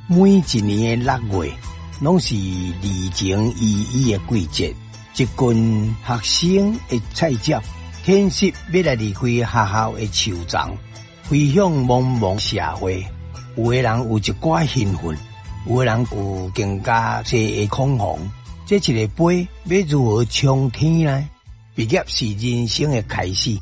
每一年的6月，攏是離情依依的季節。一群學生會菜鳥，天色欲來離開學校的樹叢，飛向茫茫社會。有的人有一寡興奮，有的人有更加濟的恐慌。這一个杯欲如何衝天呢？畢業是人生的開始，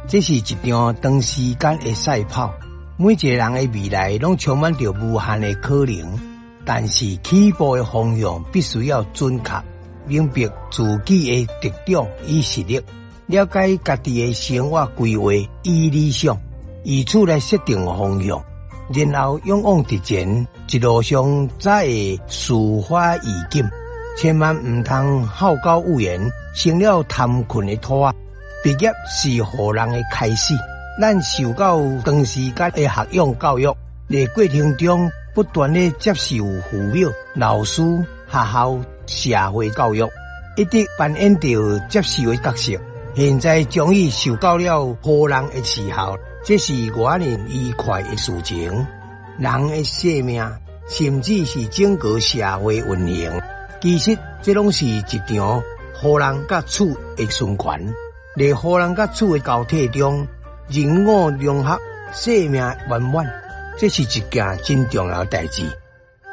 這是一場長時間的賽跑。每一個人的未來攏充滿著無限的可能，但是起步的方向必須要準確，明白自己的特長與實力，了解家己的生活規劃與理想，以此來設定方向，然後勇往直前，一路上才會事發愈緊。千萬毋通好高騖遠，成了貪困的兔仔。畢業是予人的開始。咱受到長時間的學養教育，佇過程中不斷咧接受父母、老師、學校、社會教育，一直扮演著接受的角色。現在終於受夠了予人的伺候，這是偌爾愉快的事情。人的生命，甚至是整個社會運行，其實這攏是一場予人佮取的循環。佇予人佮取的交替中，人我融合，生命圓滿，這是一件真重要的代誌。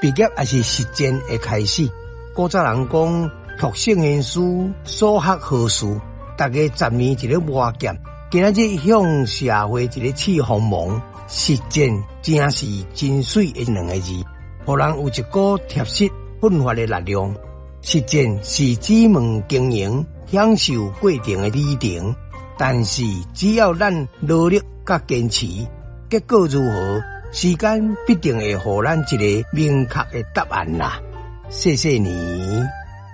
畢業也是實踐的開始。古早人講，讀聖賢書，所學何事？逐家10年一个磨劍，今仔日向社會一个試鋒芒，實踐誠是真媠的兩个字，予人有一股踏實奮發的力量。實踐是專門經營、享受過程的旅程。但是只要咱努力佮堅持，結果如何，時間必定會予咱一个明確的答案啦。謝謝你。